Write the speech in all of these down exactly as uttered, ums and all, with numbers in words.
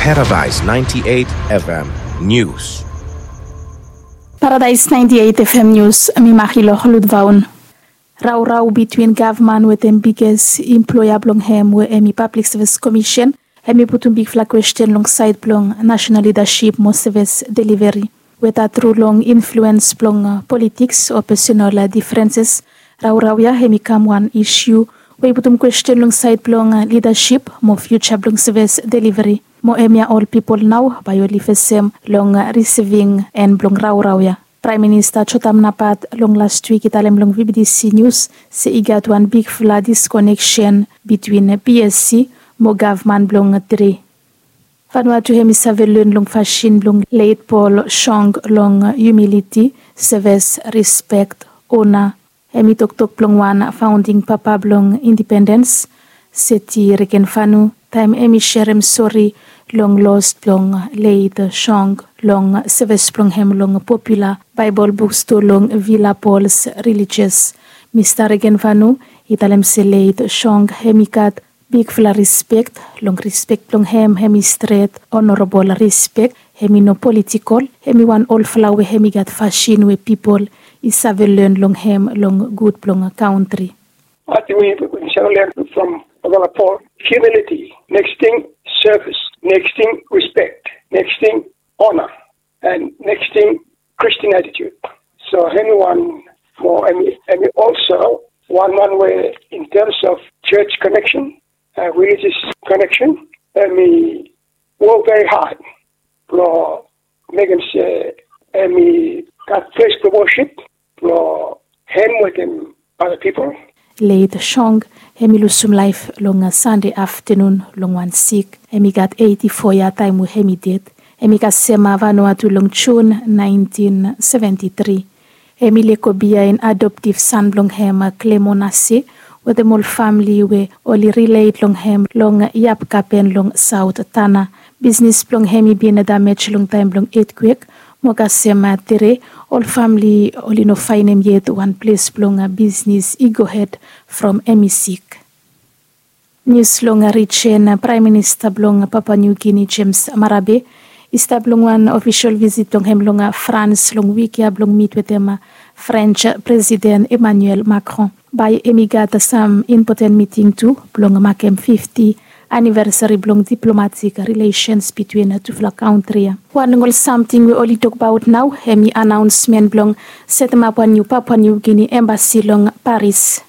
Paradise ninety-eight F M News. Paradise ninety-eight F M News, mi Marilor Ludvaun. Raorao bitwin gavman wetem biges imploea blong hem we hemi Pablik Sevis Komisen, hemi putum bigfala kwesten long saed blong nasenal lidasip mo sevis deliveri. Weta tru long influens blong, a, politiks o pesenal, a, difrenses, raorao ya hemi kam wan isiu we i putum kwesten long saed blong, a, lidasip mo fiuja blong sevis deliveri. Mo hemia ol pipol nao bae oli fesem long, a, risiving en blong raorao ya. Praem Minista Jotam Napat long las wik i talem long V B T C Nius se i gat wan bigfala diskoneksen bitwin P S C mo gavman blong tri. Vanuatu hemi save len long fasin blong Leit Paul Shong long humiliti, sevis, rispek, ona. Hemi toktok blong wan faonding papa blong indipendens, Seti Regenvanu, taem hemi serem sori long los blong Leit Shong long sevis blong hem long popula Baebol bukstoa long Villa Pauls Religious. Mista Regenvanu i talem se Leit Shong hemi gat bigfala rispek. Long rispek blong hem, hemi stret, onorabol rispek, hemi no politikol, hemi wan olfala we hemi gat fasin we pipol i save len long hem long gud blong kantri. Ating we we save len from Villa Paul, humiliti, neks ting, sevis, neks ting, rispek, neks ting, ona, en neks ting, Kristin atitut. So hemi wan mo hemi, hemi olso wan man we in tems of jos koneksen, a, rilijos koneksen, hemi wok veri had blong mekem se hemi gat ples blong wosip blong hem wetem ada pipol. Leit Shong hemi lusum laef long, a, Sande aftenun long wan sik. Hemi gat eiti fo yia taem we hemi ded. Hemi kasem, a, Vanuatu long Jun naentin seventi tri. Hemi lego biaen adoptif san blong hem, a, Klemo Nase, wetem ol famle we oli rilet long hem long Yapkapen long Saot Tana. Bisnes blong hem i bin damej long taem blong etkwek, mo kasem, a, tere, ol famle oli no faenem yet wan ples blong, a, bisnes i gohed from hemi sik. Nius long, a, rijen, a, Praem Minista blong Papua Niu Gini James Marape i stap long wan ofisol visit blong hem long, a, Frans long wik ya blong mit wetem, a, Frens Presiden Emmanuel Macron. Bae hemi gat sam impoten miting tu blong makem fifti anivesari blong diplomatik rilesens bitwin tufala kantri ya. Wan long ol samting we oli tokbaot nao hemi anaonsmen blong setemap wan niu Papua Niu Gini embasi long Paris.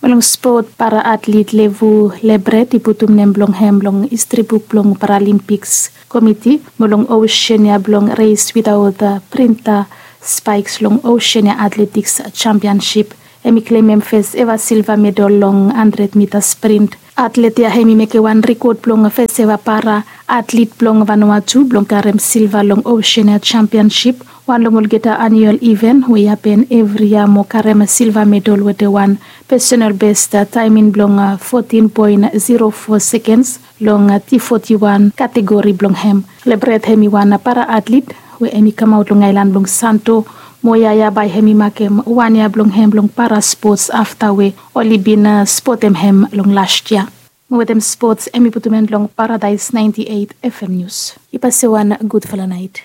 Mo long spot, para atlit Levu Lebret i putum nem blong hem long histri buk blong Paralimpiks Komiti mo long Oseania blong res witaot printa spaeks long Oseania Atletiks Jampiansip. Hemi klemem fes eva silva medal long handred mita sprint. Atlet ya hemi mekem wan rekod blong fes eva para atlit blong Vanuatu blong karem silva long Oseania Jampiansip, wan long olgeta aniual iven we i hapen evri yia mo karem silva medal wetem wan pesenal bes taemin blong fotin poen zero fo sekens long T foti wan kategori blong hem. Lebret hemi wan para atlit we hemi kamaot long aelan blong Santo, mo yia ya bae hemi makem wan yia blong hem long para spots afta we oli bin spotem hem long las yia. Mo wetem spots hemi putum en long Paradaes naenti eit F M Nius. I pase wan gudfala naet.